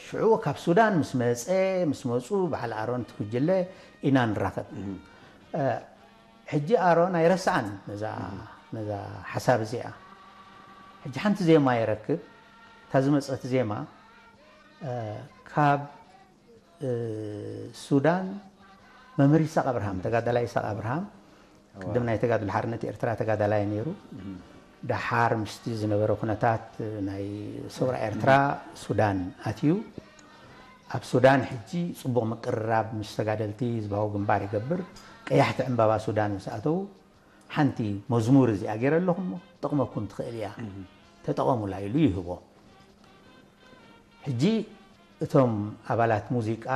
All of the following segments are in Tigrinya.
ሽዑ ካብ ሱዳን ምስ መፀ ምስ መፁ በዓል ኣሮን ትጉጅለ ኢና ንራኸብ። ሕጂ ኣሮን ኣይረስዓን ነዛ ሓሳብ እዚኣ። ሕጂ ሓንቲ ዜማ ይረክብ። እታ ዝመፀት ዜማ ካብ ሱዳን መምህር ይስሐቅ ኣብርሃም፣ ተጋዳላይ ይስሐቅ ኣብርሃም፣ ቅድም ናይ ተጋድሎ ሓርነት ኤርትራ ተጋዳላይ ነይሩ። ደሓር ምስቲ ዝነበረ ኩነታት ናይ ሰውራ ኤርትራ ሱዳን ኣትዩ። ኣብ ሱዳን ሕጂ ጽቡቕ ምቅርራብ ምስ ተጋደልቲ ህዝባዊ ግንባር ይገብር። ቀያሕቲ ዕምባባ ሱዳን ምስ ኣተዉ ሓንቲ መዝሙር እዚኣ ገይረ ኣለኹ እሞ ትጠቕመኩም ትኽእል እያ፣ ተጠቐሙላ ኢሉ ይህቦ። ሕጂ እቶም ኣባላት ሙዚቃ፣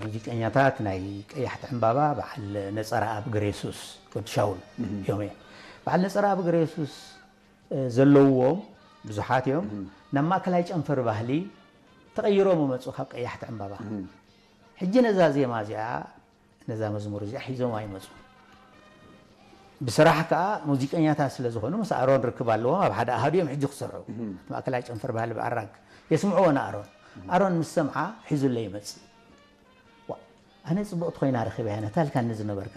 ሙዚቀኛታት ናይ ቀያሕቲ ዕምባባ በዓል ነጸረኣብ ገረየሱስ ወዲ ሻውል እዮም። በዓል ነጸረኣብ ገረየሱስ ዘለውዎም ብዙሓት እዮም። ናብ ማእከላይ ጨንፈር ባህሊ ተቐይሮም ይመጹ ካብ ቀያሕቲ ዕምባባ። ሕጂ ነዛ ዜማ እዚኣ ነዛ መዝሙር እዚኣ ሒዞም ኣይመጹ። ብስራሕ ከኣ ሙዚቀኛታት ስለ ዝኾኑ ምስ ኣሮን ርክብ ኣለዎም። ኣብ ሓደ ኣሃዱ እዮም ሕጂ ክሰርሑ። እቲ ማእከላይ ጨንፈር ባህሊ ብኣራግ የስምዕዎ ንኣሮን። ኣሮን ምስ ሰምዓ ሒዙለይ ይመጽእ። ዋ፣ ኣነ ጽብቕቲ ኮይና ረኺበያ ነታ ኢልካኒ ዝነበርካ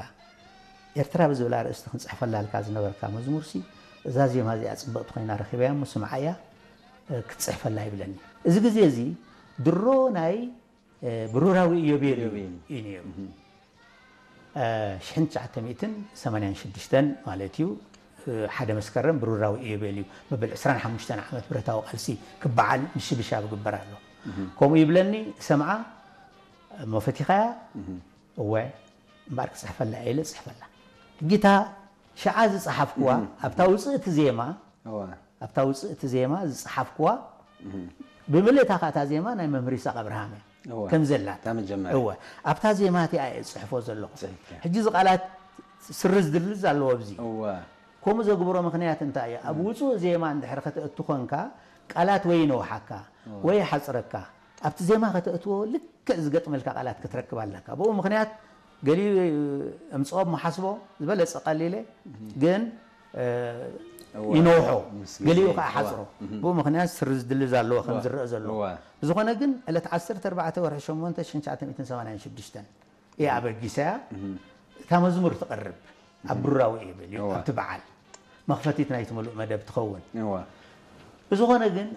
ኤርትራ ብዝብል ኣርእስቲ ክንጽሕፈላ ኢልካ ዝነበርካ መዝሙርሲ እዛ ዜማ እዚኣ ጽብቕቲ ኮይና ረኺበያ እሞ ስምዓያ ክትጽሕፈላ ይብለኒ። እዚ ግዜ እዚ ድሮ ናይ ብሩራዊ ኢዮቤልዩ እዩ ነይሩ። ሽሕን ትሽዓተ ሚእትን ሰማንያን ሽዱሽተን ማለት እዩ። ሓደ መስከረም ብሩራዊ ኢዮቤልዩ መበል ዕስራን ሓሙሽተን ዓመት ብረታዊ ቃልሲ ክበዓል ምሽብሻብ ይግበር ኣሎ። ከምኡ ይብለኒ፣ ሰምዓ እሞ ፈቲኻያ? እወ፣ እምበኣር ክጽሕፈላ እየ ኢለ ጽሕፈላ። ሕጂ እታ ሽዓ ዝጸሓፍኩዋ ኣብታ ውጽእቲ ዜማ ኣብታ ውጽእቲ ዜማ ዝጸሓፍኩዋ ብምልእታ ከኣ እታ ዜማ ናይ መምህር ይስሐቅ ኣብርሃም እያ ከም ዘላ። እወ፣ ኣብታ ዜማ እቲኣ እየ ዝጽሕፎ ዘለኹ። ሕጂ እዚ ቃላት ስርዝ ድርዝ ኣለዎ ኣብዚ። ከምኡ ዘግብሮ ምኽንያት እንታይ እዩ? ኣብ ውጹእ ዜማ እንድሕር ከተእቱ ኮንካ ቃላት ወይ ይነውሓካ ወይ ይሓጽረካ። ኣብቲ ዜማ ከተእትዎ ልክዕ ዝገጥመልካ ቃላት ክትረክብ ኣለካ። ብኡ ምኽንያት ገሊኡ እምጽኦ እሞ ሓስቦ ዝበለጸ ቀሊለ ግን ይነውሖ፣ ገሊኡ ከዓ ሓፅሮ። ብኡ ምኽንያት ስርዝ ድልዝ ኣለዎ ከም ዝረአ ዘሎ። ብዝኾነ ግን ዕለት ዓሰርተ ኣርባዕተ ወርሒ ሸሞንተ ሽሕን ትሽዓተ ሚእትን ሰማንያን ሽዱሽተን እያ ኣበጊሰያ እታ መዝሙር ትቐርብ ኣብ ብሩራዊ እዩ በልዩ ኣብቲ በዓል መኽፈቲት ናይቲ ምሉእ መደብ ትኸውን። ብዝኾነ ግን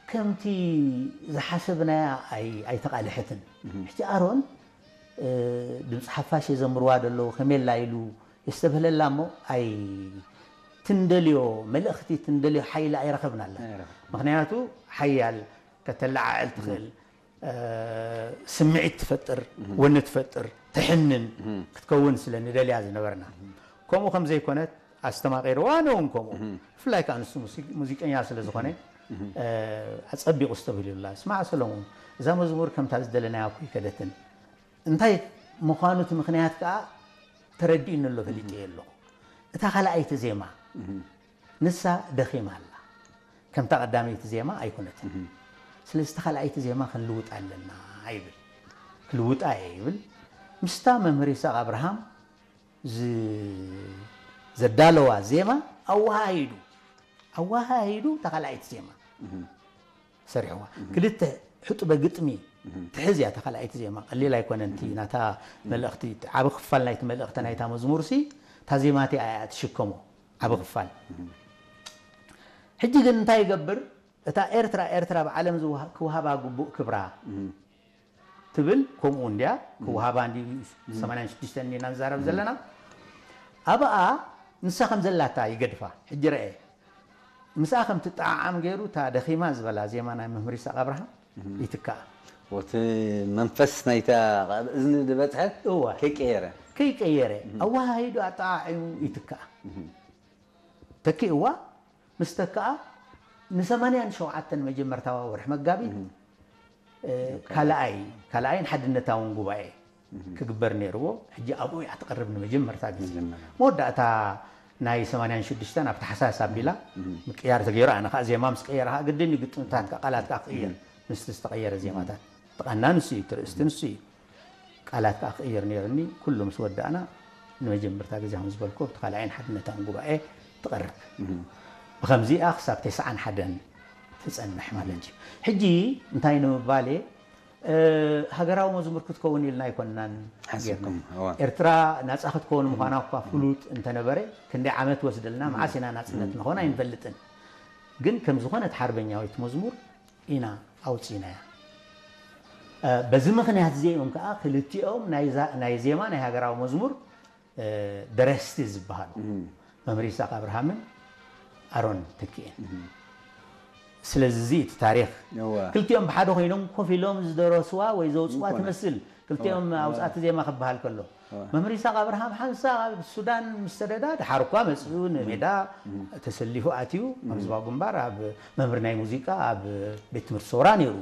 ከምቲ ዝሓሰብናያ ኣይተቓልሐትን። ሕጂ ኣሮን ድምፂ ሓፋሽ የዘምርዋ ደለዉ ከሜላ ኢሉ የስተብህለላ እሞ ኣይ ትንደልዮ መልእኽቲ ትንደልዮ ሓይሊ ኣይረኸብናላ። ምኽንያቱ ሓያል ከተለዓዕል ትኽእል ስምዒት ትፈጥር፣ ወኒ ትፈጥር፣ ተሕንን ክትከውን ስለ ንደልያ ዝነበርና። ከምኡ ከም ዘይኮነት ኣስተማቒርዋ፣ ኣነ እውን ከምኡ። ብፍላይ ከኣ ንሱ ሙዚቀኛ ስለ ዝኾነ ኣጸቢቑ ዝተብህልዩላ። ስማዕ ሰሎሞን፣ እዛ መዝሙር ከምታ ዝደለናያ እኮ ኣይከደትን። እንታይ ምዃኑ እቲ ምኽንያት ከኣ ተረዲኡኒ ኣሎ፣ ፈሊጠዮ ኣለኹ። እታ ካልኣይቲ ዜማ ንሳ ደኺማ ኣላ። ከምታ ቀዳመይቲ ዜማ ኣይኮነትን። ስለዚ እታ ካልኣይቲ ዜማ ክንልውጣ ኣለና ይብል። ክልውጣ እየ ይብል። ምስታ መምህር ይስሐቅ ኣብርሃም ዘዳለዋ ዜማ ኣወሃሂዱ ኣወሃሂዱ እታ ካልኣይቲ ዜማ ሰሪሕዋ። ክልተ ሕጡበ ግጥሚ ትሕዝ እያ እታ ካልኣይቲ ዜማ። ቀሊል ኣይኮነን። እቲ ናታ መልእኽቲ፣ ዓቢ ክፋል ናይቲ መልእኽቲ ናይታ መዝሙርሲ እታ ዜማ እቲኣ እያ ትሽከሞ። ዓቢ ክፋል። ሕጂ ግን እንታይ ይገብር? እታ ኤርትራ፣ ኤርትራ ብዓለም ዝወሃ-፣ ክወሃባ ግቡእ ክብራ ትብል፣ ከምኡ እንድያ፣ ክወሃባ እንዲ ሰማንያን ሽዱሽተ እንዲና ንዛረብ ዘለና። ኣብኣ ንሳ ከም ዘላታ ይገድፋ። ሕጂ ረኤ፣ ምስኣ ከም ትጠዓዓም ገይሩ፣ እታ ደኺማ ዝበላ ዜማ ናይ መምህር ይስሐቅ ኣብርሃም ይትክኣ። እቲ መንፈስ ናይታ ኣብ እዝኒ ዝበጽሐት እወ። ከይቀየረ። ከይቀየረ፣ ኣወሃሂዱ ኣጠዓዒሙ ይትክኣ። ተኪእዋ፣ ምስ ተክኣ፣ ንሰማንያን ሸውዓተን መጀመርታዋ ወርሒ መጋቢት፣ እ፣ ካልኣይ፣ ካልኣይን ሓድነታውን ጉባኤ ክግበር ነይርዎ። ሕጂ ኣብኡ እያ ትቐርብ ንመጀመርታ ግዜ። መወዳእታ ናይ ሰማንያን ሽዱሽተን ኣብ ታሕሳስ ኣቢላ ምቅያር ተገይሩ። ኣነ ከዓ ዜማ ምስ ቀየረ ከዓ ግድን እዩ ግጥምታት ከዓ ቃላት ከዓ ክቕየር። ምስቲ ዝተቐየረ ዜማታት። እቲ ቃና ንሱ እዩ፣ እቲ ርእስቲ ንሱ እዩ። ቃላት ከዓ ክቕየር ነይሩኒ። ኩሉ ምስ ወዳእና ንመጀመርታ ግዜ ከም ዝበልኩ ኣብቲ ካልኣይን ሓድነታውን ጉባኤ ትቐርብ። ብኸምዚኣ ክሳብ ተስዓን ሓደን ትጸንሕ ማለት እዩ። ሕጂ እንታይ ንምባል እየ፣ እ፣ ሃገራዊ መዝሙር ክትከውን ኢልና ኣይኮንናን ጌርና። ኤርትራ ናጻ ክትከውን ምዃና እኳ ፍሉጥ እንተነበረ፣ ክንደይ ዓመት ወስደልና፣ መዓስ ኢና ናጽነት ንኾን ኣይንፈልጥን። ግን ከም ዝኾነት ሓርበኛዊት መዝሙር ኢና ኣውጺእናያ። እ፣ በዚ ምኽንያት እዚ እዮም ከኣ ክልቲኦም ናይ ዛ-፣ ናይ ዜማ ናይ ሃገራዊ መዝሙር፣ እ፣ ደረስቲ ዝበሃሉ መምህር ይስሐቅ ኣብርሃምን ኣሮን ተኪኤን። ስለዚ እዚ እቲ ታሪኽ እወ። ክልቲኦም ብሓደ ኮይኖም ኮፍ ኢሎም ዝደረስዋ ወይ ዘውፅዋ ትመስል። ክልቲኦም እወ። ኣውፃእቲ ዜማ ክበሃል ከሎ። እወ። መምህር ይስሐቅ ኣብርሃም ሓንሳብ ኣብ ሱዳን ምስ ሰደዳ፣ ድሓር እኳ መፂኡ ንሜዳ ተሰሊፉ ኣትዩ፣ ኣብ ዝባው ግንባር ኣብ መምህር ናይ ሙዚቃ ኣብ ቤት ትምህርቲ ሰውራ ነይሩ።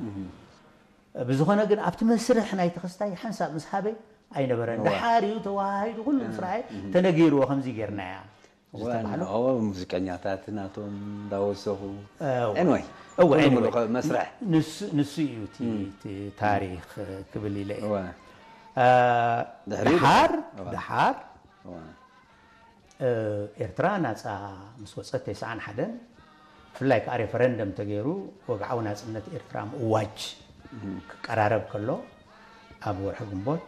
ብዝኾነ ግን ኣብቲ መስርሕ ናይ ተኸስታይ ሓንሳብ ምስ ሃበ ኣይነበረን። እወ። ድሓር እዩ ተወሃሂዱ ኩሉ ምስ ረኣየ ተነጊርዎ ከምዚ ጌርናያ ዝተባህሉ። እወ፣ ሙዚቀኛታት ናቶም እንዳወሰኹ። እወ። Anyway፣ እወ፣ ኩሉ anyway። ሙሉእ መስርሕ። ንሱ፣ ንሱ እዩ እቲ፣ እም። እቲ ታሪኽ ክብል ኢለ እየ። እወ። እ፣ ድሕሪኡ ድሓር፣ እወ። ድሓር እወ። እ፣ ኤርትራ ናጻ ምስ ወጸት ተስዓን ሓደን ብፍላይ ከኣ ሬፈረንደም ተገይሩ ወግዓዊ ናጽነት ኤርትራ ምእዋጅ ክቀራረብ ከሎ ኣብ ወርሒ ግንቦት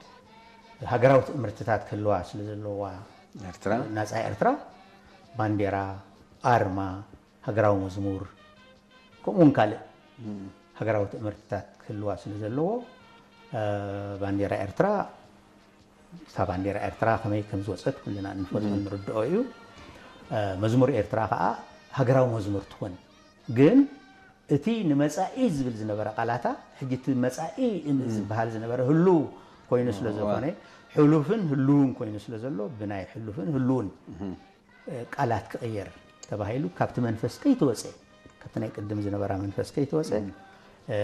ሃገራዊ ትእምርትታት ክህልዋ ስለ ዘለዋ ኤርትራ? ናጻ ኤርትራ ባንዴራ፣ ኣርማ፣ ሃገራዊ መዝሙር ከምኡ እውን ካልእ ሃገራዊ ትእምርትታት ክህልዋ ስለ ዘለዎ፣ እ፣ ባንዴራ ኤርትራ፣ እታ ባንዴራ ኤርትራ ከመይ ከም ዝወጸት ኩልና እንፈልጦ ንርድኦ እዩ። እ፣ መዝሙር ኤርትራ ከኣ ሃገራዊ መዝሙር ትኾን። ግን እቲ ንመጻኢ ዝብል ዝነበረ ቃላታ፣ ሕጂ እቲ መጻኢ ን-፣ ዝበሃል ዝነበረ ህሉው ኮይኑ ስለ እዋ። ዝኾነ፣ ሕሉፍን ህሉውን ኮይኑ ስለ ዘሎ፣ ብናይ ሕሉፍን ህሉውን ቃላት ክቕየር ተባሂሉ ካብቲ መንፈስ ከይተወጸ፣ ካብቲ ናይ ቅድም ዝነበራ መንፈስ ከይተወጸ፣ እም። እ፣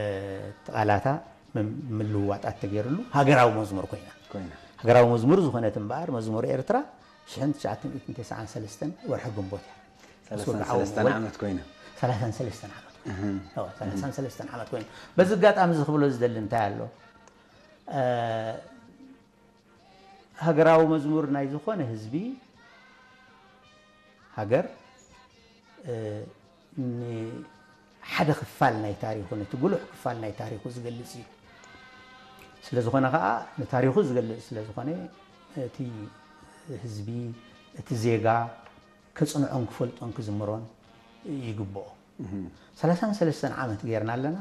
እቲ ቃላታ ምም-፣ ምልውዋጣት ተገይርሉ ሃገራዊ መዝሙር ኮይና። ኮይና። ሃገራዊ መዝሙር ዝኾነት እምበኣር መዝሙር ኤርትራ ሽሕን ትሽዓተ ሚእትን ተስዓን ሰለስተን ወርሒ ግንቦት እያ። ሰላሳን ሰለስተን ዓመት ኮይና። ሰላሳን ሰለስተን ዓመት ኮይና። እህም። እዎ፣ ሰላሳን ሰለስተን ዓመት ኮይና። በዚ ኣጋጣሚ እዚ ክብሎ ዝደሊ እንታይ ኣሎ? እ፣ ሃገራዊ መዝሙር ናይ ዝኾነ ህዝቢ፣ ሃገር፣ እ፣ ንሓደ ክፋል ናይ ታሪኹ፣ ነቲ ጉሉሕ ክፋል ናይ ታሪኹ ዝገልጽ እዩ። ስለ ዝኾነ ኸኣ፣ ንታሪኹ ዝገልጽ ስለ ዝኾነ፣ እቲ ህዝቢ፣ እቲ ዜጋ፣ ከጽንዖን ክፈልጦን ክዝምሮን ይግብኦ። እህም። ሰላሳን ሰለስተን ዓመት ጌርና ኣለና።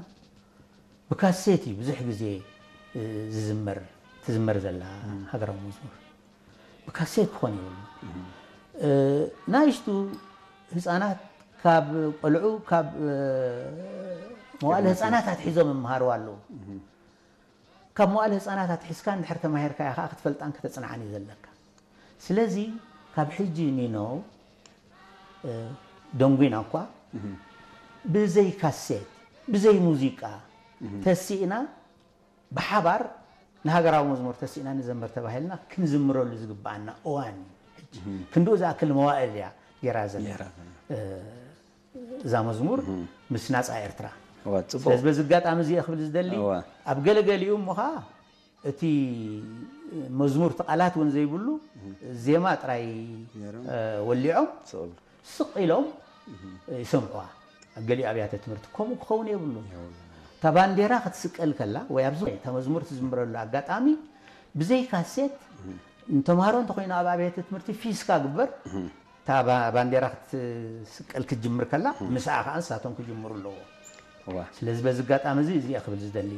ብካሴት እዩ ብዙሕ ግዜ፣ እ፣ ዝዝመር፣ ትዝመር ዘላ እም። ሃገራዊ መዝሙር። ብካሴት ክኾን ይብሉ። እም። እ፣ ናይሽቱ ህፃናት ካብ ቆልዑ፣ ካብ፣ እ፣ መዋእለ ህፃናት ኣትሒዞም ይመሃሩ ኣለዉ። እም። ካብ መዋእለ ህፃናት ኣትሒዝካ እንድሕር ተማሂርካያ ከዓ ክትፈልጣን ከተፅንዓን እዩ ዘለካ። ስለዚ ካብ ሕጂ ኒኖ፣ እ፣ ደንጒና እኳ እህ። ብዘይ ካሴት፣ ብዘይ ሙዚቃ እህ። ተሲእና ብሓባር ንሃገራዊ መዝሙር ተሲእና ንዘምር ተባሂልና ክንዝምረሉ ዝግብኣና እዋን እዩ ሕጂ። እህ። ክንድኡ ዝኣክል መዋእል እያ ጌራ ዘላ። ጌራ ዘላ። እ፣ እዛ መዝሙር እህ። ምስ ናጻ ኤርትራ። እዋ፣ ጽቡቕ። ስለዚ በዚ ኣጋጣሚ እዚ እየ ክብል ዝደሊ፣ እዋ። ኣብ ገለገሊኡ እሞ ኸኣ እቲ መዝሙር እቲ ቃላት እውን ዘይብሉ፣ እህ። ዜማ ጥራይ፣ ገይሮም። እ፣ ወሊዖም፣ ስቕ ኢሎም። ስቕ ኢሎም እህ። ይሰምዑዋ። ኣብ ገሊኡ ኣብያተ ትምህርቲ ከምኡ ክኸውን የብሉን። የብሉን። እታ ባንዴራ ክትስቀል ከላ፣ ወይ ኣብዚ እታ መዝሙር ትዝምረሉ ኣጋጣሚ፣ ብዘይ ካሴት፣ እህ። ንተምሃሮ እንተኾይኑ ኣብ ኣብያተ ትምህርቲ ፊስካ ግበር፣ እህ። እታ ባ-፣ ባንዴራ ክትስቀል ክትጅምር ከላ፣ እህ። ምስኣ ከኣ ንሳቶም ክጅምሩ ኣለዎ። እዋ። ስለዚ በዚ ኣጋጣሚ እዚ፣ እዚ እየ ክብል ዝደሊ።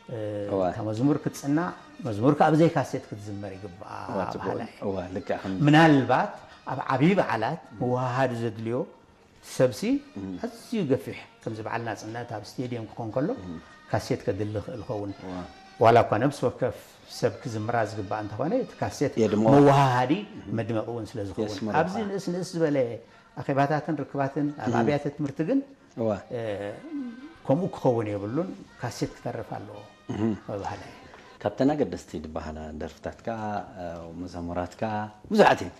እ፣ እዋ። እታ መዝሙር ክትጽናዕ፣ መዝሙር ከኣ ብዘይ ካሴት ክትዝመር ይግብኣ እዋ፣ ጽቡቕ። በሃላይ። እዋ፣ ልክዕ ከም ምናልባት ኣብ ዓብዪ በዓላት ምውሃሃድ ዘድልዮ ሰብሲ እም። ኣዝዩ ገፊሕ፣ ከምዚ በዓል ናጽነት ኣብ ስቴድየም ክኾን ከሎ እም። ካሴት ከድሊ ይኽእል ይኸውን። እዋ። ዋላ እኳ ነብሲ ወከፍ ሰብ ክዝምራ ዝግባእ እንተኾነ፣ እቲ ካሴት የድምቖ። መወሃሃዲ እም። መድመቒ እውን ስለ ዝኸውን። የስምሮ ኣብዚ ከዓ። ንእስ ንእስ ዝበለ ኣኼባታትን ርክባትን ኣብ እም። ኣብያተ ትምህርቲ ግን እዋ። እ፣ ከምኡ ክኸውን የብሉን፣ ካሴት ክተርፍ ኣለዎ እህ። ምባህላ እየ። ካብተን ኣገደስቲ ዝበሃላ ደርፍታትካ፣ እ፣ መዘሙራትካ ብዙሓት እየን።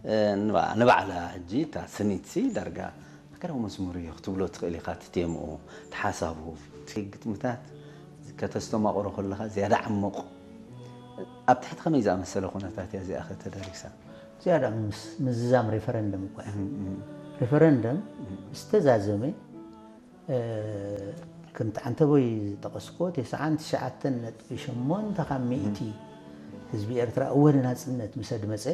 እ፣ ንባ-፣ ንባዕላ ሕጂ እታ ስኒትሲ ዳርጋ ሃገራዊ መዝሙር እዩ ክትብሎ ትኽእል ኢኻ። እቲ ቴምኡ፣ እቲ ሓሳቡ፣ እቲ ግጥምታት ከተስተማቕሮ ከለኻ ዝያዳ ዓሚቕ። ኣብ ትሕቲ ከመይ ዝኣመሰለ ኩነታት እያ እዚኣ ኸ ተደሪሳ? ዝያዳ ምስ ምዝዛም ሬፈረንደም እኳ እያ። እህ፣ እህ። ሬፈረንደም እህ። ምስ ተዛዘመ ከምቲ ዓንተቦይ ዝጠቐስኮ፣ ተስዓን ትሽዓተን ነጥቢ ሸሞንተ ካብ ሚእቲ ህዝቢ ኤርትራ እወ ንናጽነት ምስ ኣድመጸ፣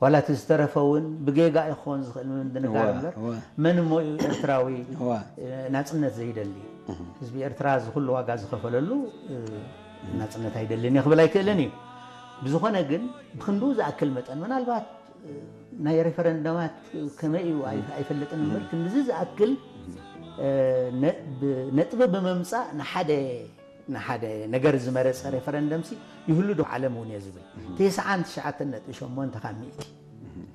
ዋላ እቲ ዝተረፈ እውን ብጌጋ ይኾን ዝኽእል ምድንጋር እምበር፣ መን እሞ እዩ ኤርትራዊ ናጽነት ዘይደሊ? ህዝቢ ኤርትራ እዚ ኩሉ ዋጋ ዝኸፈለሉ ናጽነት ኣይደልን እየ ክብል ኣይክእልን እዩ። ብዝኾነ ግን ብክንድኡ ዝኣክል መጠን ምናልባት ናይ ሬፈረንደማት ከመይ እዩ ኣይፈልጥን እምበር ክንድዚ ዝኣክል ነጥቢ ብምምፃእ ንሓደ ንሓደ ነገር ዝመረፀ ሬፈረንደምሲ ይህሉ ዶ ዓለም እውን እየ ዝብል። ተስዓን ትሽዓተን ነጥቢ ሸሞንተ ካብ ሚእቲ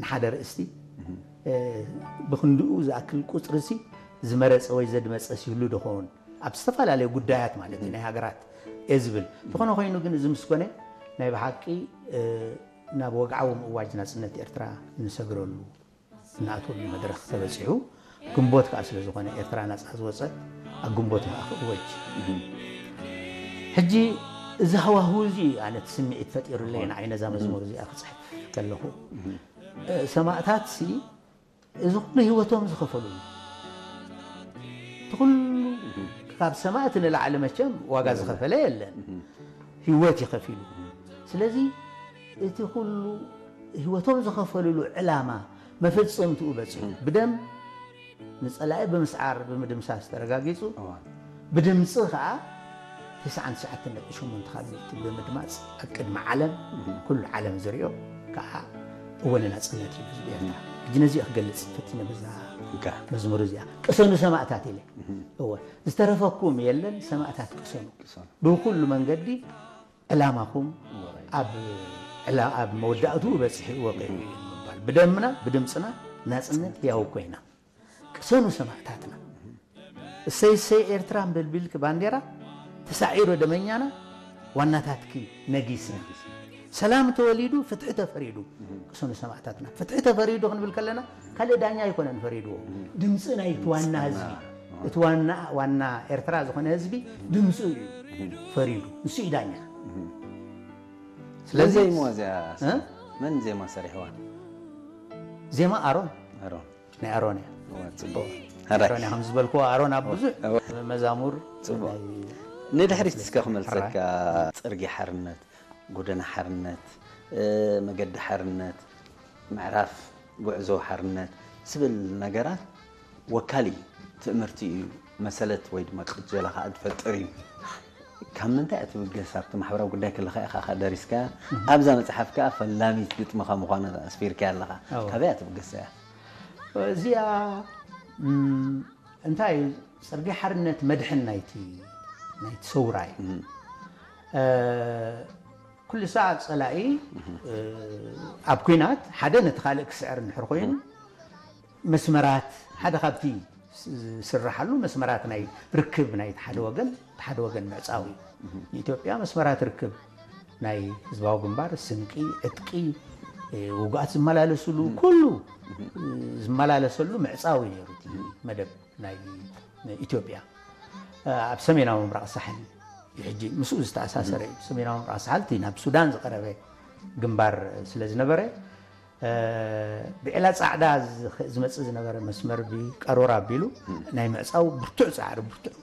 ንሓደ ርእስቲ ብክንድኡ ዝኣክል ቁፅርሲ ዝመረፀ ወይ ዘድመፀስ ይህሉ ዶ ኸውን ኣብ ዝተፈላለዩ ጉዳያት ማለት እዩ ናይ ሃገራት እየ ዝብል። እንተኾነ ኮይኑ ግን እዚ ምስ ኮነ ናይ ብሓቂ ናብ ወግዓዊ ምእዋጅ ናጽነት ኤርትራ እንሰግረሉ እንኣትወሉ መድረኽ ተበጺሑ ግንቦት ከኣ ስለ ዝኾነ ኤርትራ ናጻ ዝወጸት ኣብ ግንቦት ከኣ ክእወጅ ሕጂ እዚ ሃዋህው እዚ ኣነ እቲ ስምዒት ፈጢሩለይ ንዓይ ነዛ መዝሙር እዚኣ ክጽሕፍ ከለኹ ሰማእታት ሲ እዚ ኩሉ ህይወቶም ዝኸፈሉ እቲ ኩሉ ካብ ሰማእቲ ንላዕሊ መቸም ዋጋ ዝኸፈለ የለን። ህይወት ይኸፊሉ። ስለዚ እቲ ኩሉ ህይወቶም ዝኸፈልሉ ዕላማ መፈጸምትኡ በፂሑ ብደም ንፀላኢ ብምስዓር ብምድምሳስ ተረጋጊፁ ብድምፂ ከዓ ተስዓን ትሽዓተን ነጥቢ ሸሞንተ ካብ ሚእቲ ብምድማፅ ኣብ ቅድሚ ዓለም ኩሉ ዓለም ዝሪኦ ከዓ እወ ንናፅነት እዩ ህዝቢ ኤርትራ። ሕጂ ነዚኦ ክገልፅ ፈቲነ በዛ መዝሙር እዚኣ ቅሰኑ ሰማእታት ኢለ እወ ዝተረፈኩም የለን ሰማእታት ቅሰኑ ብኩሉ መንገዲ ዕላማኹም ኣብ ዕላ ኣብ መወዳእትኡ በፂሑ ወቂዑ እዩ ንምባል ብደምና ብድምፅና ናፅነት ህያው ኮይና ቅሰኑ ሰማእታትና እሰይ እሰይ ኤርትራ እምበል ቢልኪ ባንዴራ ተሳዒሩ ደመኛና ዋናታትኪ ነጊስና ሰላም ተወሊዱ ፍትሒ ተፈሪዱ ቅሰኑ ሰማእታትና ፍትሒ ተፈሪዱ ክንብል ከለና ካልእ ዳኛ ኣይኮነን ፈሪድዎ ድምፂ ናይቲ ዋና ህዝቢ እቲ ዋና ዋና ኤርትራ ዝኾነ ህዝቢ ድምፁ እዩ ፈሪዱ ንሱ እዩ ዳኛ ስለዚህ ዜማ እዚኣ መን ዜማ ሰሪሕዋ ዜማ ኣሮን ኣሮን ናይ ኣሮን እያ ጽቡቅ ኣሮን እያ ከም ዝበልክዎ ኣሮን ኣብ ብዙሕ መዛሙር ጽቡቅ ንድሕሪት እስከ ክመልሰካ ጽርጊ ሓርነት ጎደና ሓርነት መገዲ ሓርነት ምዕራፍ ጉዕዞ ሓርነት ዝብል ነገራት ወካሊ ትእምርቲ እዩ መሰለት ወይ ድማ ቅጀላ ከዓ ትፈጥር እዩ ካብ ምንታይ እትብገስ ኣብቲ ማሕበራዊ ጉዳይ ከለካ ኢካ ደሪስካ ኣብዛ መፅሓፍ ከዓ ፈላሚት ግጥምካ ምኳና ኣስፊርካ ኣለካ ካበይ እትብገስ እያ እዚኣ እንታይ እዩ ፅርጊ ሓርነት መድሕን ናይቲ ናይቲ ሰውራ እዩ ኩሉ ሰዓት ፀላኢ ኣብ ኩናት ሓደ ነቲ ካልእ ክስዕር እንድሕር ኮይኑ መስመራት ሓደ ካብቲ ዝስራሓሉ መስመራት ናይ ርክብ ናይ ሓደ ወገን ሓደ ወገን ምዕፃው እዩ ንኢትዮጵያ መስመራት ርክብ ናይ ህዝባዊ ግንባር ስንቂ ዕጥቂ ውጉኣት ዝመላለስሉ ኩሉ ዝመላለሰሉ ምዕፃው እዩ ነሩ መደብ ናይ ኢትዮጵያ ኣብ ሰሜናዊ ምብራቕ ሳሕል ሕጂ ምስኡ ዝተኣሳሰረ እዩ ሰሜናዊ ምብራቕ ሳሕል እቲ ናብ ሱዳን ዝቀረበ ግንባር ስለ ዝነበረ ብዕላ ፃዕዳ ዝመፅእ ዝነበረ መስመር ብቀሮር ኣቢሉ ናይ ምዕፃው ብርቱዕ ፃዕሪ ብርቱዕ